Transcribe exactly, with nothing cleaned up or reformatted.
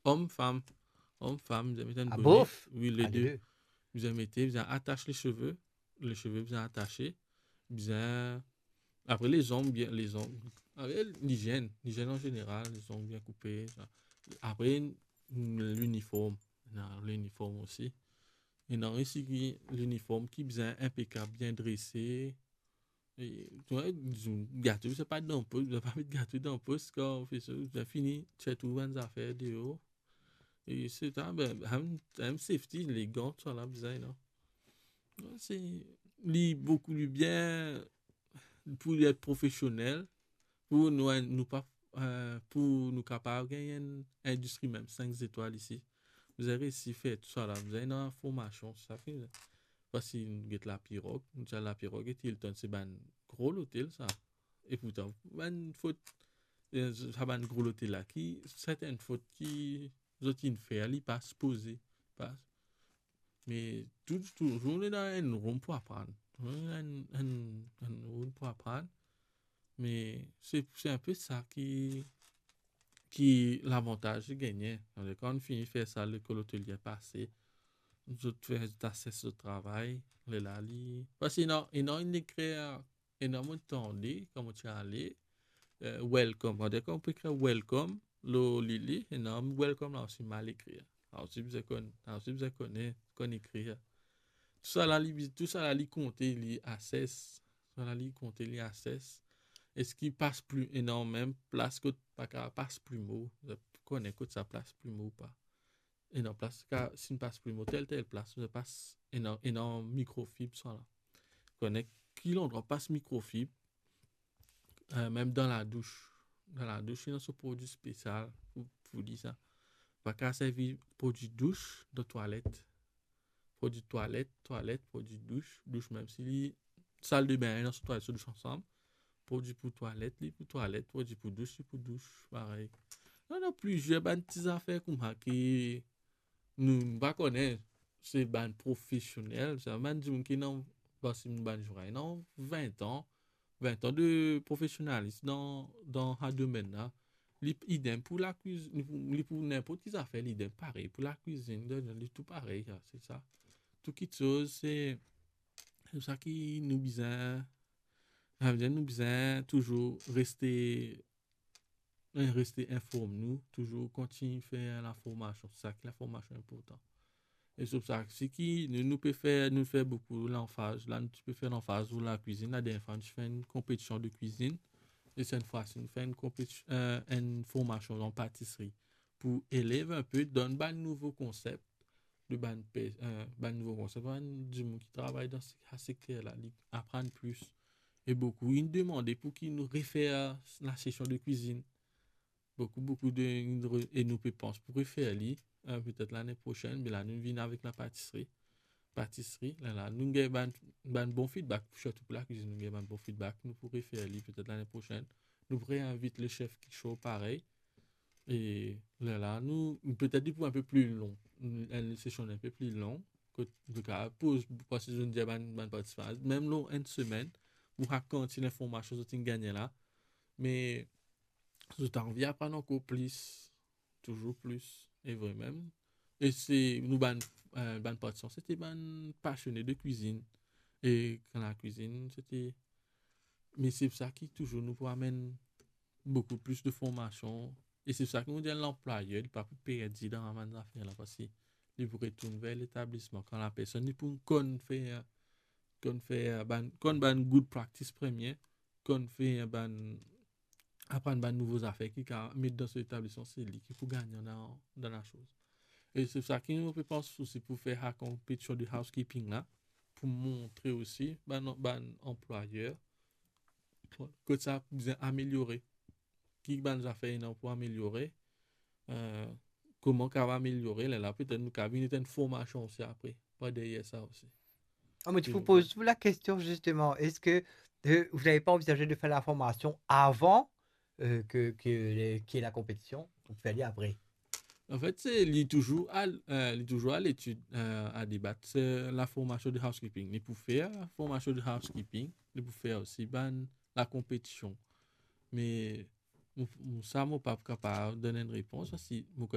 Om, fam. Om, fam, bizin met enn bone. Wi, le de. Bizin mete, bizin atas le seve. Le seve bizin atase. Bizin, apre, lezong bien, lezong. Apre, lizienn, lizienn an zeneral, lezong bien koupe, sa. Apre, liniform. Ena liniform osi. Ena osi ki liniform ki bizin inpekab, bien drese. E, to, gato, se pa dan pos, bizin pa met gato dan pos kan ou fer sa, bizin fini, tir tou bann zafer deor. E se ta, be, hem, hem safety, legan, tousala bizin, non? Se, li boukou, li bien pou li et profesionel, pou nou, nou pa, eh, pou nou kapav gagn enn indistri mem sink zetwal isi. Bizin resi fer tousala, bizin ena formasion, sa ki, parski nou get Lapirog, nou ti al Lapirog ek Hilton, se bann gro lotel sa. E pourtan, bann fot, eh, sa bann gro lotel la ki, sertin fot ki zot inn fer, li pa sipoze, pa, me tou, touzour ena enn room pou aprann. Touzour ena enn, enn, enn room pou aprann. Me se, se inpe sa ki, ki lavantaz ki gagne. Kan nou fini fer sa, lekol otelie pase, zot fer, zot ases zot travay, lerla li, parski ena, ena enn lekrir, ena mo tande, kan mo ti ale, eh, welcome. Kan ou pe ekrir welcome lor li, li, ena welcome la osi mal ekrir. La osi bizin konn, la osi bizin kone, konn ekrir. Tousala li, tousala li konte, li ases. Tousala li konte, li ases. Eski pas pli, ena mem plas kot pa kapav pas plimo? Zot kone kot sa pas plimo ou pa? Ena plas ka, si nou pas plimo tel, tel plas, nou pas, ena, ena mikrofib, sa la. Kone ki landrwa pas mikrofib, eh, mem dan ladous. Dan ladous, ena so prodwi spesial pou, pou li sa. Pa kapav servi prodwi dous dan twalet. Prodwi twalet, twalet, prodwi dous, dous, mem si li, saldebin, ena so twalet, so dous ansam. Prodwi pou twalet, li pou twalet, prodwi pou dous, li pou dous, parey. Non, non, plizier bann ti zafer kouma ki nou, nou pa kone, se bann profesionel, sa, bann dimoun ki ena, parski bann zour la ena vin an, vin an de profesionalism dan, dan sa domenn la. Li idem pou lakwiz-, li pou, li pou ninport ki zafer, li idem parey pou lakwizinn, li tou parey, sa, se sa. Tou kitsoz, se, se sa ki nou bizin, sa vedir nou bizin touzour reste, eh, reste inform nou, touzour kontign fer laformasion. Se sa ki laformasion inportan. E se pou sa, si ki nou, nou pe fer, nou fer boukou lanfaz, la nou ti pe fer lanfaz lor lakwizinn, ladernie fwa nou ti fer enn konpetision de kwizinn, e set fwa si nou fer enn konpeti-, eh, enn formasion an patisri pou elev inpe, donn bann nouvo konsep, de bann pe-, eh, bann nouvo konsep, bann dimoun ki travay dan se-, sa sekter la, li aprann plis. E boukou inn demande pou ki nou refer lasesion de kwizinn. Boukou, boukou de, e nou pe pans pou refer li, eh, petet lane prosenn, me la nou vinn avek lapatisri. Patisri, lerla, nou gagn bann, bann bon feedback, sirtou pou lakwizinn, nou gagn bann bon feedback, nou pou refer li petet lane prosenn. Nou pou reinvit le chef Kishore parey. E lerla, nou, petet li pou inpe pli long, enn sesion inpe pli long, kot nou kapav poz, parski zot inn dir bann, bann partisipan, mem lor enn semenn, pou rakont linformasion zot inn gagne la. Me zot anvi aprann ankor plis, touzour plis, e vremem. E se nou bann, eh, bann partisipan, se ti bann pasione de kwizinn. E kan lakwizinn, se ti, me se pou sa ki touzour nou pou amenn boukou plis de formasion. E se pou sa ki nou dir lanplwayer, li pa pou perdi dan sa bann zafer la, parski li pou retourn ver letablisman. Kan lapersonn, li pou konn fer, konn fer bann, konn bann good practice premie, konn fer bann, aprann bann nouvo zafer ki kapav met dan so letablisman, se li ki pou gagnan dan, dan lasoz. E se pou sa ki nou pe pans osi pou fer sa konpetision de housekeeping la, pou montre osi bann, bann anplwayer kot sa bizin ameliore, ki bann zafer ena pou ameliore, eh, kouma kapav ameliore, lerla petet nou kapav vinn enn formasion osi apre, par deryer sa osi. Ah, mais je vous pose la question justement, est-ce que, euh, vous n'avez pas envisagé de faire la formation avant, euh, que, que les, qu'il y ait la compétition, ou faire après? Anfet, se, li touzour a, eh, li touzour a letid, eh, a debat, se laformasion de housekeeping. Li pou fer formasion de housekeeping, li pou fer osi bann lakonpetision. Me mo, mo, sa, mo pa kapav donn enn repons, parski mo